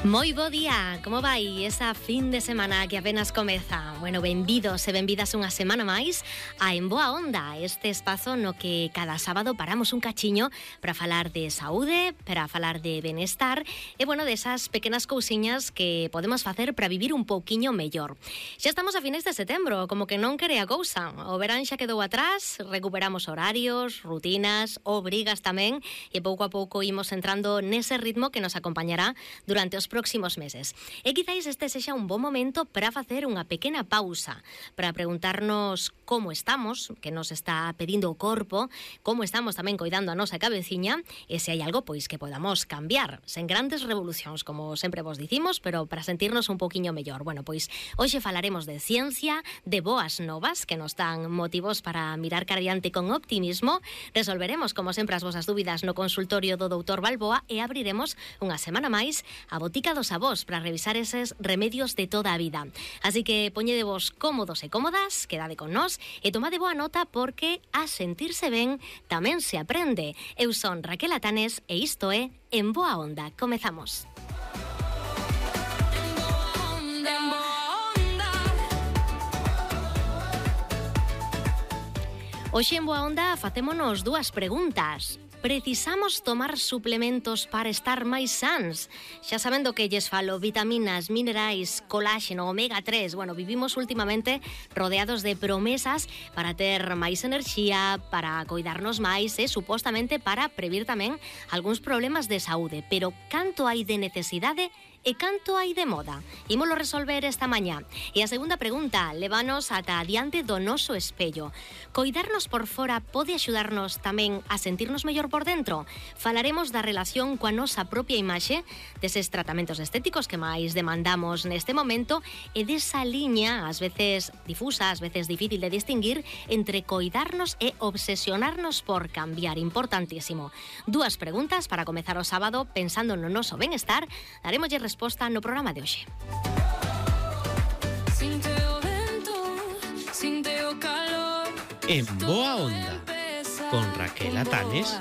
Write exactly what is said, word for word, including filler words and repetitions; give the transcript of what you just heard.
Moi bo día, como vai esa fin de semana que apenas comeza? Bueno, benvidos e benvidas unha semana máis a En Boa Onda, este espazo no que cada sábado paramos un cachiño para falar de saúde, para falar de benestar e, bueno, desas pequenas cousiñas que podemos facer para vivir un pouquiño mellor. Xa estamos a finais de setembro, como que non quere a cousa. O verán xa quedou atrás, recuperamos horarios, rutinas, obrigas tamén, e pouco a pouco imos entrando nese ritmo que nos acompañará durante os próximos meses. E quizáis este sexa un bon momento para facer unha pequena pausa, para preguntarnos como estamos, que nos está pedindo o corpo, como estamos tamén coidando a nosa cabeciña, e se hai algo pois que podamos cambiar, sen grandes revolucións, como sempre vos dicimos, pero para sentirnos un poquinho mellor. Bueno, pois hoxe falaremos de ciencia, de boas novas que nos dan motivos para mirar cara adiante con optimismo, resolveremos, como sempre, as vosas dúbidas no consultorio do doutor Balboa e abriremos unha semana máis a botica dos avós para revisar eses remedios de toda a vida. Así que poñedevos cómodos e cómodas, quedade con nós e tomade boa nota porque a sentirse ben tamén se aprende. Eu son Raquel Atanes e isto é En Boa Onda. Comezamos. Hoxe en Boa Onda facémonos dúas preguntas. Precisamos tomar suplementos para estar máis sans? Xa sabendo que lles falo, vitaminas, minerais, coláxeno, omega tres. Bueno, vivimos últimamente rodeados de promesas para ter máis enerxía, para coidarnos máis e supostamente para previr tamén algúns problemas de saúde. Pero canto hai de necesidade e canto hai de moda? Ímolo resolver esta mañá. E a segunda pregunta, levanos ata adiante do noso espello. Coidarnos por fora pode axudarnos tamén a sentirnos mellor por dentro? Falaremos da relación coa nosa propia imaxe, deses tratamentos estéticos que máis demandamos neste momento e desa liña, ás veces difusa, ás veces difícil de distinguir, entre coidarnos e obsesionarnos por cambiar. Importantísimo. Dúas preguntas para comezar o sábado pensando no noso benestar. Daremoslle resposta no programa de hoxe. En Boa Onda, con Raquel Atanes